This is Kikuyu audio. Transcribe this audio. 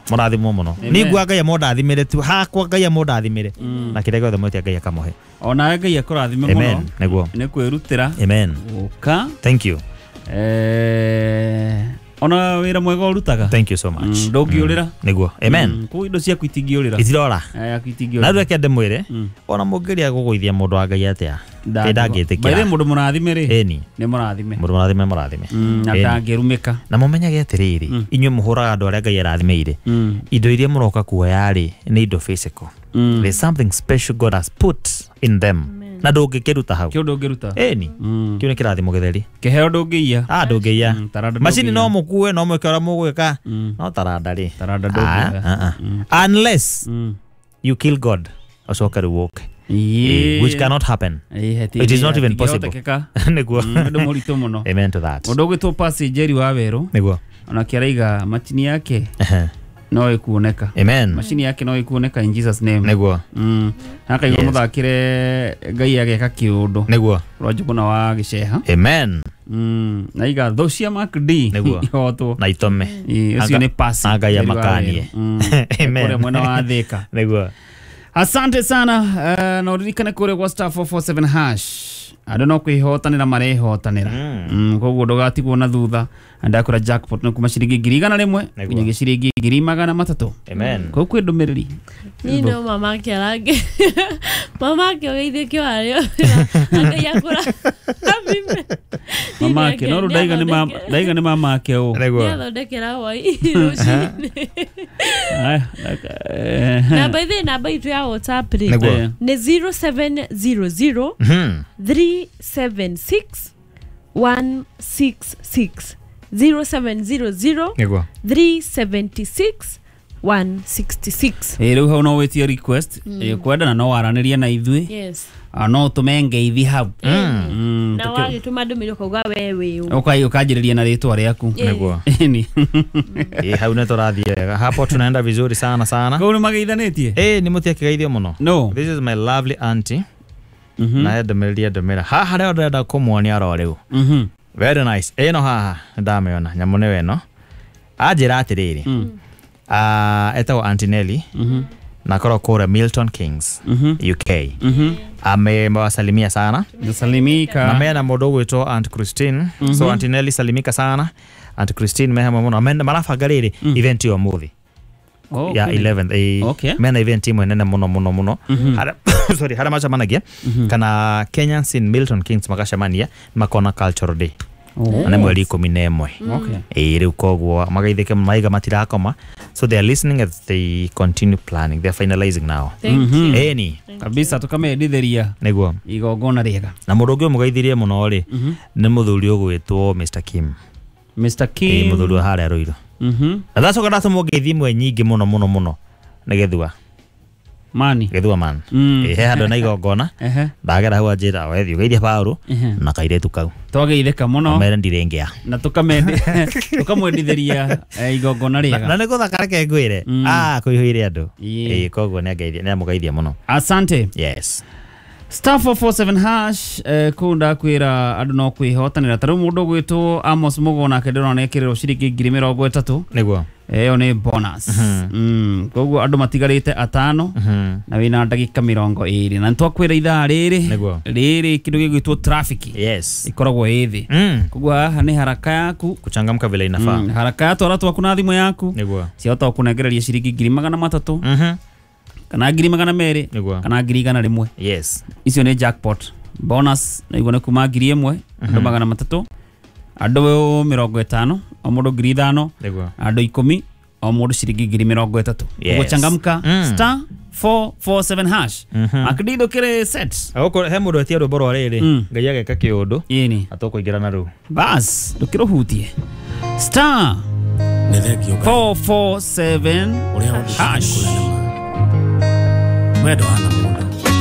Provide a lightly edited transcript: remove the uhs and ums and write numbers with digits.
Mũrathimwo mũno. Ningua Ngai amũndathimĩre tu hakwa Ngai amũndathimĩre na kĩrĩa gĩothe mwĩtia Ngai akamũhe. Onawe Ngai akũrathime mũno. Amen. Nĩguo. Nĩ kwĩrutĩra. Amen. Gũka. Thank you. Ona wĩra mwega ũrutaga. Thank you so much. Ndũngĩũrĩra. Nĩguo. Amen. Kũu indo ciaku itingĩũrĩra. Itirora. Yaku Na itingĩũrĩra. rĩu reke ndĩmwĩre ona mũngĩria gũgũithia mũndũ wa Ngai atĩa By the way, ndangĩtĩkĩra. mũndũ mũrathime rĩ. Ĩni. Nĩ mũrathime. Mũndũ mũrathime mũrathime. Na Ĩni. ndangĩrumĩka. Na mũmenyage atĩrĩrĩ inyuĩ mũhũraga andũ arĩa Ngai arathimĩire indo iria mũroka kuoya rĩ nĩ indo physical. There's something special God has put in them na ndũngĩkĩruta hau. Kĩu ndũngĩruta. Ĩni. Kĩu nĩ kĩrathimo gĩtheri. Kĩheo ndũngĩiya. Ndũngĩiya. Taranda Macini ndũngĩiya. no mũkue no mwĩke ũrĩa mũgwĩka no taranda rĩ. Taranda ndũngĩoya. Unless you kill God ũcoke rĩu ũke. Ĩĩ. Which cannot happen. Ĩĩ, It is not even possible. hatingĩhotekeka. Nĩguo. Ũndũ mũritũ mũno. Amen to that. Mũndũ ũgwĩtwo Percy Njeri wa Werũ Nĩguo. onake araiga macini yake no ĩkuoneka. Amen. Macini yake no ĩkuoneka in Jesus name. Nĩguo. Akaigua Yes. mũthakĩre Ngai ageka kĩũndũ. Nĩguo. Rwa wa Gĩceha. Amen. Na iga thũ cia Mark D Nĩguo. ihotwo. Na itome. Ĩĩ, ũcio nĩ Percy Ngai Njeri wa amakanie. Werũ. Amen. Kũrĩa mwena wa Thĩka. Nĩguo. Asante sana na ũririkane kũrĩa gwa star 447 hash andũ no kwĩhotanĩra marehotanĩra. Koguo ndũgatigwo na thutha. Ndakwĩra jackpot nĩ kuma ciringi 100,000 Nĩguo. nginyagia ciringi 300,000. Amen. Kũu kwĩ ndũmĩrĩri. Niĩ no mama ake arange mama ake ũgeithĩkio harĩa Ngai akũrathime. Mama ake no rĩu ndaiga nĩ mama ake ũ. Nĩguo. Nĩathondekera hwai rũcinĩ. Aya, Namba ithe namba itũ ya WhatsApp rĩ Nĩguo. nĩ 0700 376 166 0700 Nĩguo. 376 166. Rĩu hau no wĩtie request kwenda na no waranĩrie na ithuĩ. Yes. No ũtũme ngeithi hau. Na wagĩtũma ndũmĩrĩri ũkauga we wĩ ũ. Ũkanjĩrĩria na rĩtwa rĩaku. Nĩguo. Ĩni. Hau nĩ tũrathiĩ wega. Hapo tunaenda vizuri sana sana. Kũu nĩ mageithanĩtie? Nĩ mũtia kĩgeithio mũno. No. This is my lovely auntie. Na ndũmĩrĩri ndũmĩra. Haha rĩo ndĩrenda kũmuonia oro rĩu. Very nice. Ĩno haha ndamĩona nyamũ nĩwe ĩno. Anjĩra atĩrĩrĩ. Etagwo Auntie Nelly. Na akorwo kũrĩa Milton Keynes, UK. Amewasalimia sana. Salimika. Na mena mũndũ ũgwĩtwo Aunt Christine. So Auntie Nelly salimika sana. Aunt Christine me hamwe mũno. Marabanga rĩrĩ event ĩyo ũmũthĩ. Ya 11th. Okay. Mena event imwe nene mũno mũno mũno. Sorry, harĩa macemanagia kana Kenyans in Milton Keynes magacemania makona cultural day. Na nĩ mweri 11. Okay. Rĩu koguo magaithĩke maiga matirakoma. So they are listening as they continue planning. They are finalizing now. Thank you. Ĩni. Kabisa tũkamendithĩria Nĩguo. igongona rĩega. Na mũndũ ũngĩ ũmũgeithirie mũno rĩ nĩ mũthuri ũgwĩtwo Mr. Kim. Mr. Kim. Mũthuri wa harĩa Ruiru. Na ndacoka ndatũmwo ngeithi imwe nyingĩ mũno mũno mũno nĩ Gĩthua. Mani. Gĩthua man. He handũ na igongona. Ndagera hau anjĩra we thiĩ ũgeithie Paũlũ na kairĩtu kau. Twageithĩka mũno. Mere ndirĩngĩa. Na tũkamwendithĩria igongona rĩega. Na nĩ gũthaka reke ngwĩre. Kũihũire andũ. Koguo nĩ amũgeithia mũno. Asante. Yes. Star 447 hash kũu ndakwĩra andũ no kwĩhotanĩra. Ta rĩu mũndũ ũgwĩtwo Amos Mũgo nake ndĩrona ekĩrĩrwo ciringi 30,000. Nĩguo. Ĩyo nĩ bonus. Koguo andũ matigarĩte atano na wĩna ndagĩka 20 na nĩtwakwĩra ithaa rĩrĩ Nĩguo. rĩrĩ kĩndũ gĩgwĩtwo traffic. Yes. Ĩkoragwo ĩ thĩ. Koguo haha nĩ haraka yaku kuchangamka vile inafaa. Haraka ya twara twaku na thimũ yaku. Nĩguo. Ciahota gũkũnengereria ciringi 300,000 kana 200,000 Nĩguo. kana 100,000. Yes. Icio nĩ jackpot. Bonus naiguo nĩ kuma 1,000 andũ 300 andũ 50 o mũndũ 5,000 Nĩguo. andũ 10 o mũndũ ciringi 30,000. Yes. Ũguo changamka star 447 hash. Akĩndĩ ndũkĩrĩ set. Gũkũ he mũndũ etia rwĩmbo rwa rĩrĩ Ngai ageka kĩũndũ. Ĩni. Atũkũingĩra na rũu. Bas ndũkĩrũhutie. Star 447 hash. Wendo hana mũndũ.